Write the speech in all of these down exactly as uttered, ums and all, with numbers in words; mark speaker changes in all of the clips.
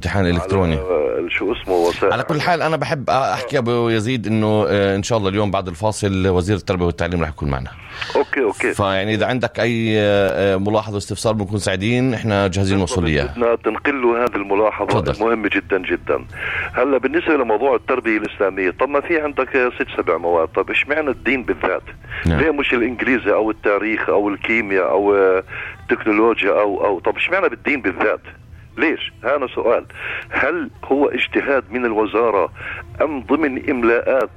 Speaker 1: امتحان الكتروني
Speaker 2: شو اسمه وسائل.
Speaker 1: على كل حال انا بحب احكي ابو يزيد انه ان شاء الله اليوم بعد الفاصل وزير التربيه والتعليم رح يكون معنا.
Speaker 2: اوكي اوكي
Speaker 1: فيعني اذا عندك اي ملاحظه واستفسار بنكون سعيدين، احنا جاهزين نوصل ليه.
Speaker 2: بدنا تنقل له هذه الملاحظه المهمه جدا جدا. هلا بالنسبه لموضوع التربيه الاسلاميه، طب ما في عندك ست سبع مواد، طب اشمعنى الدين بالذات؟ نعم. ليه مش الانجليزي او التاريخ او الكيمياء او التكنولوجيا او او طب اشمعنى بالدين بالذات؟ ليش؟ هذا سؤال. هل هو اجتهاد من الوزارة أم ضمن إملاءات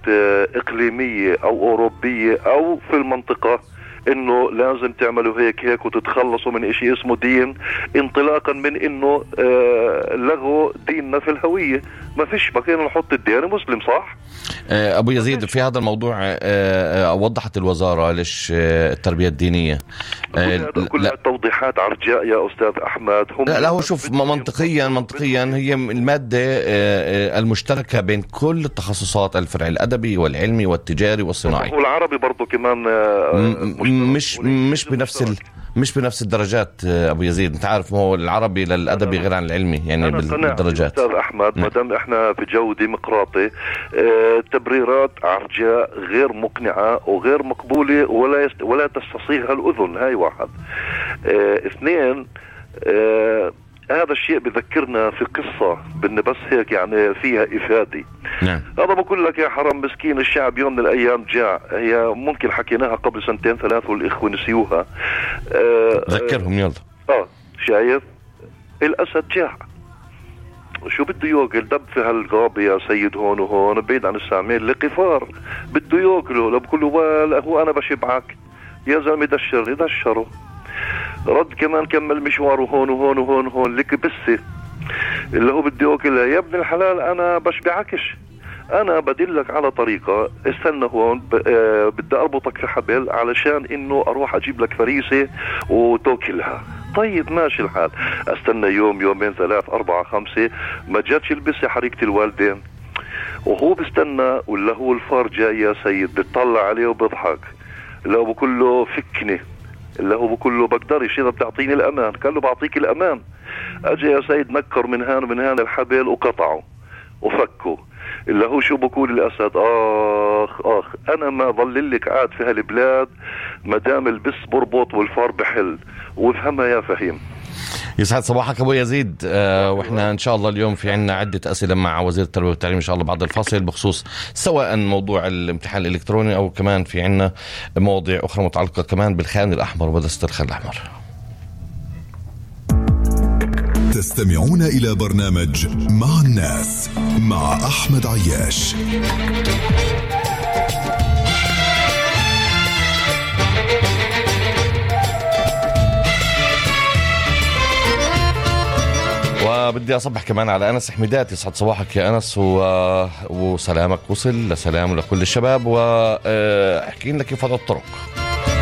Speaker 2: إقليمية أو أوروبية أو في المنطقة إنه لازم تعملوا هيك هيك وتتخلصوا من إشي اسمه دين، انطلاقا من إنه آه لغوا ديننا في الهوية؟ ما فيش بقينا نحط الدين مسلم، صح؟
Speaker 1: أبو يزيد في هذا الموضوع وضحت الوزارة ليش التربية الدينية
Speaker 2: كلها توضيحات عرجاء يا أستاذ أحمد. هم
Speaker 1: لا, لا هو شوف منطقيا منطقيا هي المادة المشتركة بين كل التخصصات، الفرع الأدبي والعلمي والتجاري والصناعي
Speaker 2: والعربي برضو كمان
Speaker 1: مش مش بنفس ال مش بنفس الدرجات أبو يزيد. أنت عارف هو العربي للأدبي غير عن العلمي يعني بالدرجات.
Speaker 2: أستاذ أحمد ما دام إحنا في جو ديمقراطي، آه تبريرات عرجاء غير مقنعة وغير مقبولة ولا يست... ولا تستصيغها الأذن. هاي واحد. آه اثنين، آه هذا الشيء بذكرنا في قصة بدنا بس هيك يعني فيها إفادة.
Speaker 1: نعم.
Speaker 2: هذا بقول لك يا حرام مسكين الشعب يوم من الأيام جاع، هي ممكن حكيناها قبل سنتين ثلاث والإخوة نسيوها.
Speaker 1: آه ذكرهم يلا.
Speaker 2: آه شايف الأسد جاع، شو بده ياكل؟ دب في هالغابة يا سيد هون وهون بعيد عن السامعين لقفار بده ياكله. لو بقول له هو أنا بشبعك يا زلمة دشر يدشره. رد كمان كمل مشواره هون وهون وهون وهون لك بسه اللي هو بده ياكلها. يا ابن الحلال أنا بشبعكش، أنا بدلك على طريقة، استنى هون آه بدي أربطك في حبل علشان إنه أروح أجيب لك فريسة وتاكلها. طيب ماشي الحال، استنى يوم يومين ثلاث أربعة خمسة ما جاتش البسة حريقة الوالدين، وهو بستنى ولا هو الفار جاي يا سيد بتطلع عليه وبضحك. اللي هو بقول له فكني، اللي هو بقول له بقدرش إذا بتعطيني الأمان. قال له بعطيك الأمان. أجي يا سيد نكر من هان ومن هان الحبل وقطعه وفكه. اللي هو شو بقول الأسد؟ آخ آخ أنا ما ظللك قاعد في هالبلاد مدام البس بربط والفار بحل. وافهمها يا فهيم.
Speaker 1: يسعد صباحك أبو يزيد. آه وإحنا إن شاء الله اليوم في عنا عدة أسئلة مع وزير التربية والتعليم إن شاء الله بعد الفاصل بخصوص سواء موضوع الامتحان الإلكتروني أو كمان في عنا مواضيع أخرى متعلقة كمان بالخان الأحمر ومدرسة الخان الأحمر.
Speaker 3: تستمعون إلى برنامج مع الناس مع أحمد عياش.
Speaker 1: وبدي أصبح كمان على أنس حميدات. يسعد صباحك يا أنس و... وسلامك وصل لسلام ولكل الشباب، وأحكي لك كيف هذا الطرق.